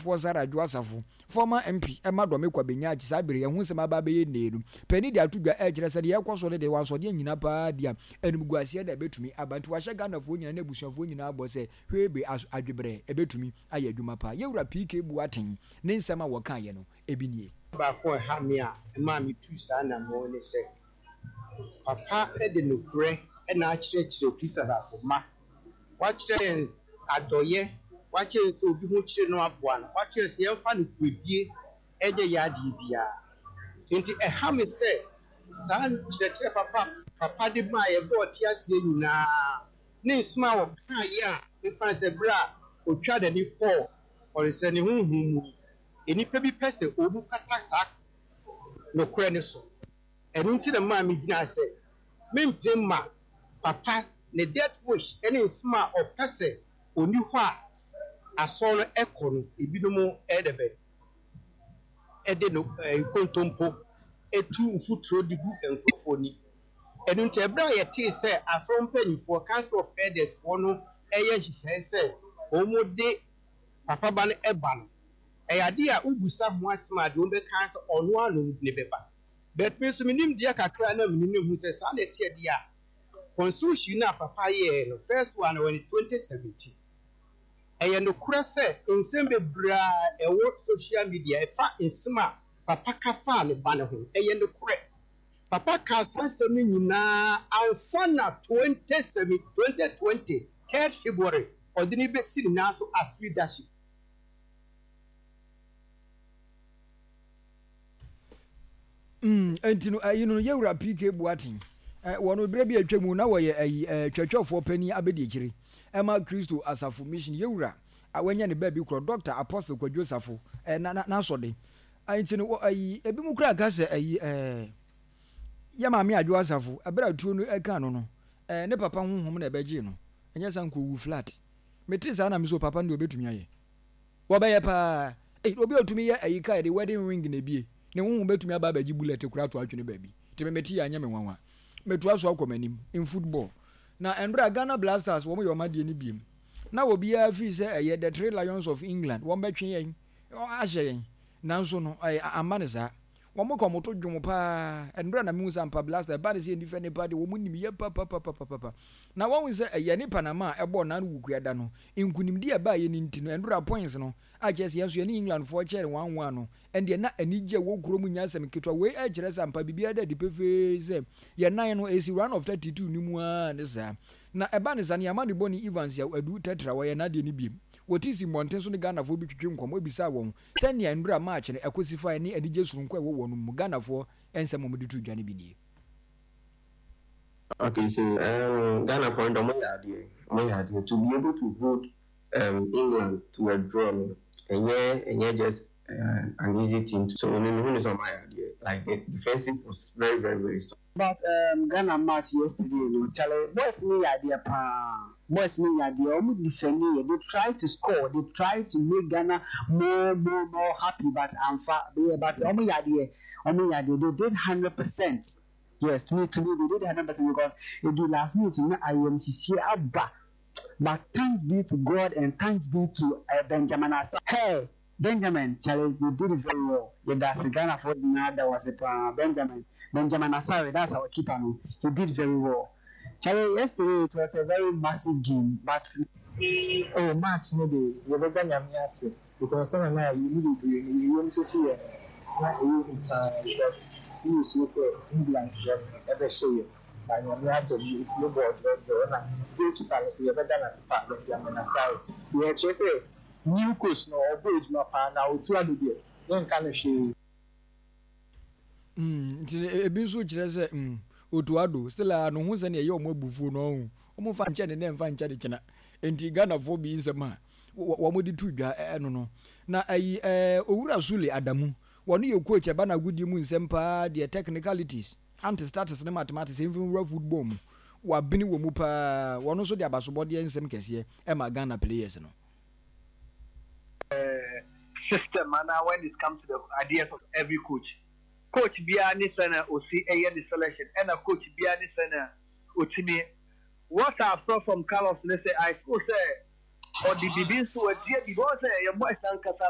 Ɔsɔfoɔ Sarah Adwo Asafo, former MP ma Dɔme Kwabenya akyi saa bere yi ɛho nsɛm aba abɛyɛ nnee no, panin de ato dwa ɛrekyerɛ sɛ deɛ ɛrekɔ so no deɛ wansɔdeɛ nnyina paa di a animguaseɛ na ɛbɛtumi aba nti wahyɛ Ghanafoɔ nyinaa ne abusuafoɔ nyinaa bɔ sɛ hwee be as adwebrɛ ɛbɛtumi ayɛ adwuma paa. Yɛwura PK Boateng ne nsɛm a wɔkaeɛ no ebi nie. Baako a ɛha me a ɛmaa metuu saa anammɔn ne sɛ, Papa de nokorɛ na akyerɛkyerɛ Kristo asafo mma. Wakyerɛ yɛn adɔeɛ, wakyerɛ yɛn sɛ obi ho kyere no aboa no, wakyerɛ yɛn sɛ yɛmfa nokorɛdie nyɛ yɛn adeɛ biara. Enti ɛha me sɛ saa nkyerɛkyerɛ papa a Papa de maa yɛn berɛ a ɔte aseɛ nyinaa ne nsɛm a ɔkaeɛ a mefa no sɛ berɛ a ɔtwaa n'ani kɔɔ ɔdesani honhom mu yi, nnipa bi pɛ sɛ wɔkata saa nokorɛ no so. Ɛno nti na ɛmaa megyinaa sɛ merempene mma papa ne death wish ne nsɛm a ɔpɛ sɛ ɔnni hɔ a asɔre no kɔ no ebinom dɛbɛn de no nkontompo tu mfuturo de gu nkurɔfoɔ ani. Ɛno nti ɛberɛ a yɛtee sɛ asɔre mpanimfoɔ, Council of Elders foɔ no reyɛ nhyehyɛe sɛ wɔde papa ba no ba no, ɛyɛ adeɛ a wobisa ho asɛm a deɛ wɔbɛka ara sɛ ɔno ara na ɔde no bɛba. But me nso me nimdeɛ kakra a na menim no hu sɛ saa na ɛteɛ deɛ a, constitution no a papa yɛɛ no, first one no wɔ ne 2017. Ɛyɛ nokorɛ sɛ nsɛm bebree a ɛwɔ social media ɛfa nsɛm a papa ka faa ne ba no ho no, ɛyɛ nokorɛ. Papa kaa saa nsɛm no nyinaa ansa na 27 2020 third February ɔde no bɛsi ne nan so as leadership. Mm, enti no, ɛyi no, yɛwura PK Boateng, eh, wɔ no berɛ bi a atwa mu na wɔyɛ ayi, eh, twɛtwɛfoɔ panin abɛdiakyire ɛma Kristo Asafo Mission, yɛwura a wanya ne baabi korɔ, Dɔkta Apostle Kwadwo Safo, eh, na, na, n'asɔde. Enti no, wɔ, ayi, ebi mu koraa ka sɛ, ayi, eh, yɛ maame Adwo Asafo, ɛberɛ a tuo no ɛka no no, eh, ne papa honhom na ɛbɛgyee no, ɛnyɛ saa nka owu flat. Mete saa na me so papa no deɛ ɔbɛtumi ayɛ. Wɔbɛyɛ paa. Ei, obi a otumi yɛ ayi ka yɛde wedding ring na ebie. Ne honhom betumi aba abɛgye bullet koraa ato atwene baabi. Nti me mete yi anyɛ me nwanwa. Metoa so akɔ m'anim in football. Na ɛnora Ghana Black Stars wɔn yɛ wɔn adeɛ no biem. Na obiara feel sɛ ɛyɛ the three lions of England wɔn bɛtwe yɛn ahyɛ yɛn. Nanso no ɛyɛ amma no saa. Wɔn ka wɔn to dwom paa. Ɛnora na mehu sɛ ampa Black Stars ɛba ne sɛ yɛn defend paa deɛ wɔn nim yɛ papapapapapa. Na wɔahu sɛ ɛyɛ ne Panama a ɛbɔɔ Naan Wukuada no nkunimdi a ɛbaeɛ no nti no, ɛnora points no, a kyerɛ sɛ yɛn nso yɛne Englandfoɔ kyɛɛ no one-one no, ɛndeɛ na anigye a ɛwɔ kurom nyɛ asɛm ketewa. Wei kyerɛ sɛ ampa biribiara da adi pefee sɛ yɛn nan no, ɛsi round of 32 no mu ara ne saa. Na ɛba ne saa no, yɛn amanebɔni Evans Yaw Adu Tetra, ɔyɛ n'adeɛ no biem. Wɔte si mmɔnten so ne Ghanafoɔ bi twetwe nkɔmmɔ bisaa wɔn sɛnea nnora match no ɛkɔsi faeɛ ne anigye sononko a ɛwɔ wɔn mu. Ghanafoɔ nsɛm a wɔde too dwa no bi nie. Okay so um Ghana foɔ no deɛ ɔmo yɛ adeɛ ɔmo yɛ adeɛ to be able to hold um England to a draw no ɛnyɛ ɛnyɛ just um an easy thing to so me mehu no sɛ ɔmo ayɛ adeɛ like the defensive was very very very strong. But um Ghana match yesterday no chale boys no yɛ adeɛ paa boys no yɛ adeɛ ɔmo defend yɛ they try to score they try to make Ghana more more more happy but amfa yeah but ɔmo yɛ adeɛ ɔmo yɛ adeɛ they did 100%. Yes me to me they did 100% because edu last minute no na ayamhyehye aba but thanks be to God and thanks be to eh, Benjamin Asa hey Benjamin chale you did very well yɛda ase Ghanafoɔ nyinaa da wo ase paa Benjamin Benjamin Asare that's our keeper no he did very well chale yesterday it was a very massive game but Oh match no de yɛbɛda Nyame ase because sɛnea na yɛn mu bebree no yɛn yam hyehye yɛn no na ɛyɛ hu paa because na yɛsuro sɛ England foɔ no ɛbɛhyɛ yɛn but Nyame adom yɛtumi bɔɔ draw draw ɛna goalkeeper no nso yɛbɛda no ase paa Benjamin Asare deɛ ɛkyerɛ sɛ new coach no ɔbɔ adwuma paa na ɔtu ado deɛ yɛnka no hwee. Mm, nti ebi nso kyerɛ sɛ mm, Otto Addo still a no ho sɛnea ɛyɛ wɔn abufuo no ɔho wɔn mfa nkyɛ ne nɛ mfa nkyɛ ne kyena nti Ghanafoɔ bi nsɛm a wɔn de to dwa ɛno no na ayi ɛɛ Owura Sule Adamu wɔn yɛ coach ɛba na agodie mu nsɛm paa deɛ technicalities anti status ne mathematics mfiri nwura football mu wabene wɔ mu paa wɔn nso de abasobɔdeɛ nsɛm kɛseɛ ɛma Ghana players no. System anaa when it comes to the ideas of every coach. Coach biara ne sɛnea osi yɛ ne selection ɛna coach biara ne sɛnea otumi. What I saw from Carlos ne sɛ I feel sɛ ɔde biribi nso wadua biribi. Wɔn sɛ yɛn boys ankasa.